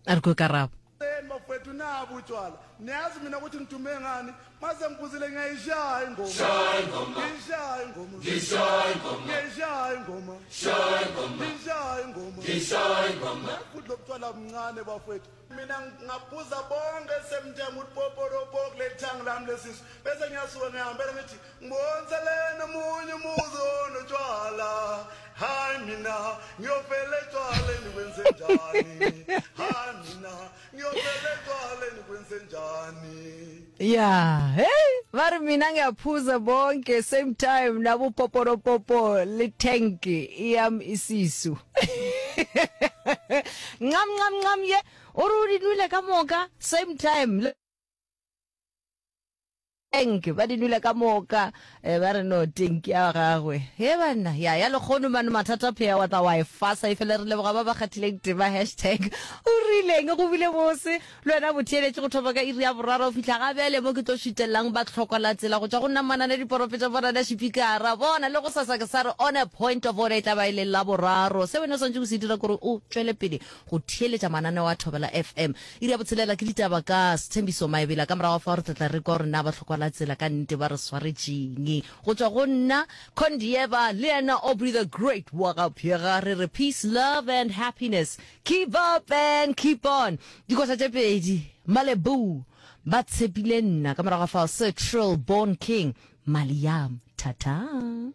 A re kwe karabo. Seni bafowethu nabu utshwala niyazi mina ukuthi ngidume ngani mase ngiphuzile ngiyayishaya ingoma ngiyishaya ingoma ngiyishaya ingoma ngiyishaya ingoma futhi lobutshwala buncane bafowethu mina ngaphuza bonke semthenga ukuthi poporopo kuleli thangi lami lesisu bese ngiyasuka ngihambela ngithi Ngiboniselene omunye umuzi onotshwala hayi mina ngiyofela etshwaleni kwenze njani hayi mina ngiyofela etshwaleni kwenze njani ya hey ba re mina ngiyaphuza bonke same time nabo poporopopo le tank yam isisu ncam ncam ncam ye o re o di nwele ka moka same time Tank ba di nwele ka moka eh, ba re no tank ya gagwe he banna ya ya lekgono mane mathata phea wa tla wa e fasa e fele re leboga ba ba kgathileng tema hashtag o rileng go bile bose le wena botheeletše go thoma ka iri ya boraro go fihla ga bjale mo ke tlo šutelelang ba tlhoko la tsela go tšwa go nna manane diporofeta bona na šipikara bona le go sasa ke sa re on a point of order e tla ba e le la boraro se wena o swantše go se dira kore o tšwele pele go theeletša mananeo a Thobela FM. Iri ya botshelela ke ditaba ka Sthembiso Maebela. Ka morago ga fao re tla tla re kwa gore na ba hlokwa la tsela ka nnete ba re swaretšeng. Go tšwa go nna Condieva le yena Aubrey the Great wa ga Pheega re re peace, love and happiness. Keep up and keep on. Dikoša tše pedi, Malebu ba tshepile nna. Ka morago ga fao Sir Trill Born King, Maliam. Thata.